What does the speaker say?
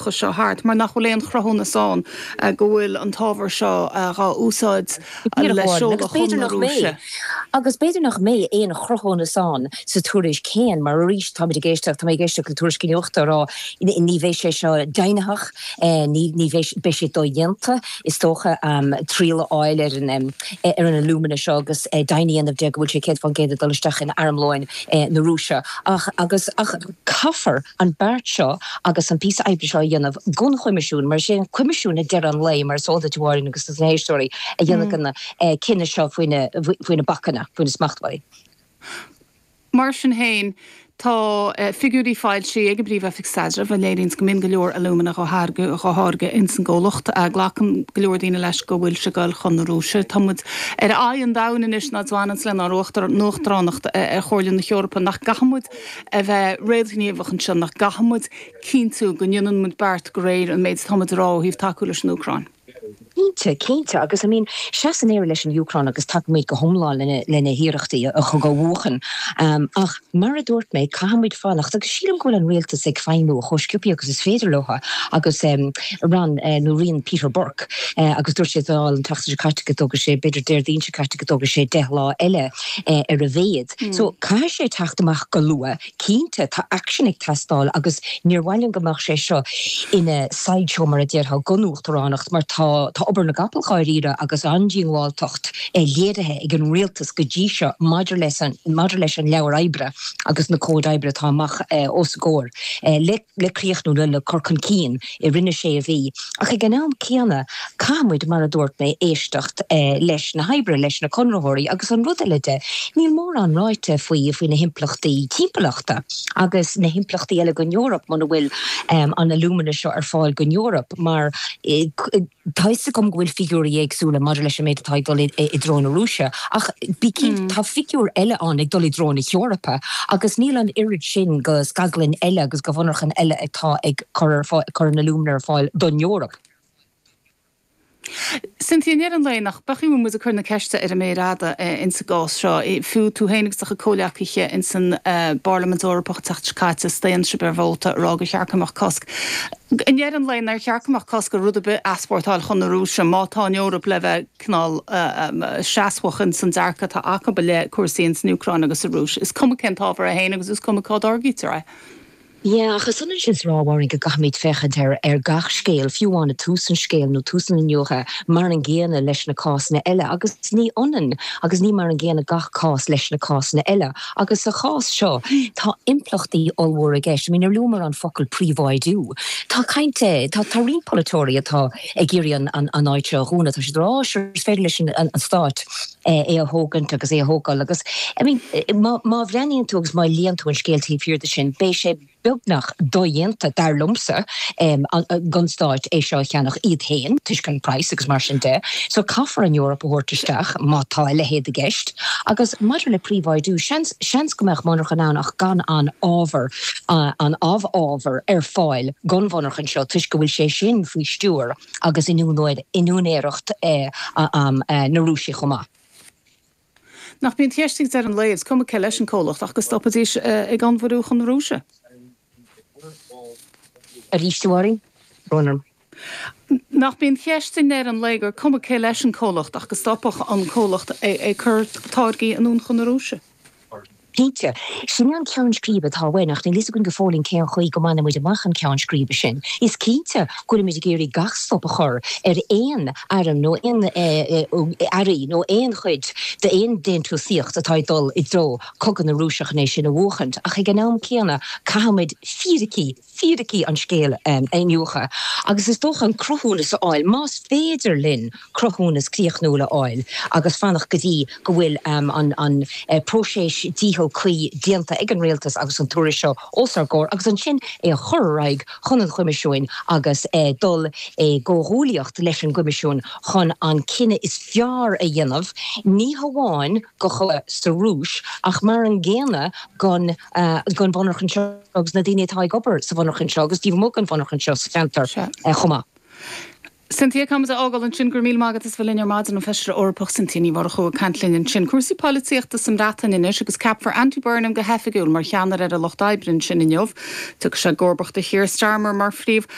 cineálacha seo thart mar nach bhfuil aon chruthúnas ann go bhfuil an t-ábhar seo dhá úsáid le seoladh chun na Rúise. Agus b'fhéidir nach mbeidh aon chruthúnas ann sa tuairisc féin mar arís táimid ag éisteacht, tá mé ag éisteacht le tuairiscí nuachta ag rá ní bheidh sé seo deimhnitheach, ní bheidh, beidh sé dodhéanta is dócha triail a fháil ar an ar an alumina seo agus deimhin a dhéanamh de go bhfuil sé 100% ag dul isteach in armlóin na Rúise. Ach agus ach caithfear an beart seo agus an píosa oibre seo a dhéanamh don Choimisiún mar is é an Coimisiún ag deireadh an lae, mar is eol duit a Mháirín agus dos na héisteoirí, a dhéanfaidh an cinneadh seo faoi na bacanna, faoi na smachtbhannaí. Mar sin féin, tá figiúirí foilsithe ag an bPríomh-Oifig Staidrimh a léiríonns go mbíonn go leor alúmana dhá tháirgeadh ins an gcomhlacht. Glacann go leor daoine leis go bhfuil sé ag goil chun na Rúise. Tá muid ar aghaidh an domhain anois ná bhaineanns lenár n-uachtaránacht ar Chomhairle na hEorpa. Nach gcaithfidh muid a bheith réamhghníomhach anseo? Nach gcaithfidh muid cinntiú go ndéanann muid beart de réir an méid atá muid a rá ó thaobh tacú leis an Úcráin? Cinnte, cinnte. Agus, I mean, seasann Éire leis an Úcráin agus tacaímid go hiomlán lena hiarrachtaí an cogadh a bhuachan. Ach, mar a dúirt mé, caithfimid fanacht agus sílim go bhfuil an rialtas ag feidhmiú chomh sciobtha agus is féidir leo agus rann nó rian Peter Burke agus dúirt sé sa Dáil an tseachtain seo caite go dtógfaidh sé, b'fhéidir Déardaoin seo caite, go dtógfaidh sé 10 lá eile ar a mhéad. So, caithfidh sé teacht amach go luath. Cinnte, tá aicsean ag teastáil agus níor mhaith linn go mbeadh sé seo ina sideshow mar a déarfá don uachtaránacht mar tá tá obair na gcapall dháiríre agus an-díongbháilteacht léirithe ag an rialtas go dtí seo maidir leis an maidir leis an leabhar oibre agus na cóid oibre atá amach os a gcomhair le le críochnú le le cur chun cinn i rith na sé mhí. Ach ag an am céanna, caithfidh muid, mar a dúirt mé, éisteacht leis na hoibrithe, leis na conraitheoirí agus an rud eile de, níl mórán ráite faoi faoi na himpleachtaí timpeallachta agus na himpleachtaí eile don Eoraip muna bhfuil an alumina seo ar fáil don Eoraip mar tá fhios agam go bhfuil figiúirí éagsúla maidir leis an méid atá ag dul i dtreo na Rúise ach bí cinnte tá figiúir eile ann ag dul i dtreo na hEorpa agus níl an oiread sin de scaglann eile agus de mhonarchain eile atá ag cur ar fáil, cur an alumina ar fáil don Eoraip. Cynthia, i ndeireadh an lae, nach bhfeicfidh muid ag cur na ceiste ar an méar fhada ins an gcás seo? Fiú tú féin agus do chuid comhleacaithe ins an bParlaimint Eorpach an tseachtain seo caite, staon sibh ar vóta ag rá gur cheart go mbeadh cosc. I ndeireadh an lae, nár cheart go mbeadh cosc ar rud ar bith a easpórtáil chun na Rúise má tá an Eoraip le bheith cineál seasmhach ins an dearcadh atá acu i leith cúrsaí ins an Úcráin agus sa Rúis. Is cuma cén t-ábhar é féin agus is cuma cá dtáirgítear é. Yeah, ach is ionann sin is a rá, a Mháirín, go gcaithfimid féachaint ar ar gach scéal, fiú amháin ag tús an scéil nó tús an iniúchadh, mar an gcéanna leis na cásanna eile. Agus ní ionann agus ní mar an gcéanna gach cás leis na cásanna eile. Agus sa chás seo, tá impleachtaí ollmhóra i gceist. I mean, nuair a luamar an focal príobháidiú, tá caint, tá tá roinnt polaiteoirí atá ag iarraidh an an an áit seo a dhúnadh, tá siad ag rá, oh, sure, is féidir leis an an stát é a thógaint agus é a thógáil agus, I mean, má, má bhreathnaíonn tú agus má léann tú an scéal taobh thiar de sin, beidh sé beagnach dodhéanta, dar liomsa, don Stát é seo a cheannach iad féin, toisc an praghas agus mar sin de. So caithfear an Eoraip a thabhairt isteach má tá a leithéid i gceist. Agus maidir le príobháidiú, seans, seans go mbeadh monarchan ann ach gan an ábhar, an amhábhar ar fáil don mhonarchan seo toisc go bhfuil sé sin faoi stiúir agus in úinéireacht na Rúise chomh maith. Nach b'í an cheist ag deireadh an lae, is cuma cé leis an comhlacht, ach go stopfaidís ag onnmhairiú chun na Rúise? Arís, a Mháirín? Brón orm. Nach b'í an cheist i ndeireadh an lae gur cuma cé leis an comhlacht ach go stopfadh an comhlacht ag cur táirgí anonn chun na Rúise? Cinnte. Sin é an ceann scríbe atá uainn, ach níl fhios againn go fóillín cén chaoi go mbainfidh muid amach an ceann scríbe sin. Is cinnte go bhfuilimid ag iarraidh gach stop a chur ar aon airm nó aon earraí nó aon chuid d'aon déantúsaíocht atá ag dul i dtreo cogadh na Rúise chun é sin a bhuachaint, ach ag an am céanna caithfimid fíricí, fíricí an scéil a iniúchadh agus is dócha an cruthúnas a fháil, más féidir linn cruthúnas críochnúil a fháil agus fanacht go dtí go bhfuil an próiseas díchill cuí déanta ag an rialtas agus an tuairisc seo os ár gcomhair agus ansin é a chur ar aghaidh chun an Choimisiúin agus dul i gcomhghuaillíocht leis an gCoimisiún chun an cinneadh is fearr a dhéanamh, ní hamháin do chogadh sa Rúis ach mar an gcéanna don mhonarchan seo. agus na daoine atá ag obair sa mhonarchan seo agus taobh amuigh den mhonarchan seo sa cheantar chomh maith. Cynthia, Caithfimid a fhágáil ansin. Go raibh míle maith agat as bheith linn ar maidin, an Feisire Eorpach Cynthia Ní Mhurchú ag caint linn ansin. Cúrsaí polaitíochta sa mBreatain anois agus ceapfar Andy Burnham go hoifigiúil mar cheannaire ar an Lucht Oibre ansin inniu. Tiocfaidh sé i gcomharbacht ar Keir Starmer mar Phríomh.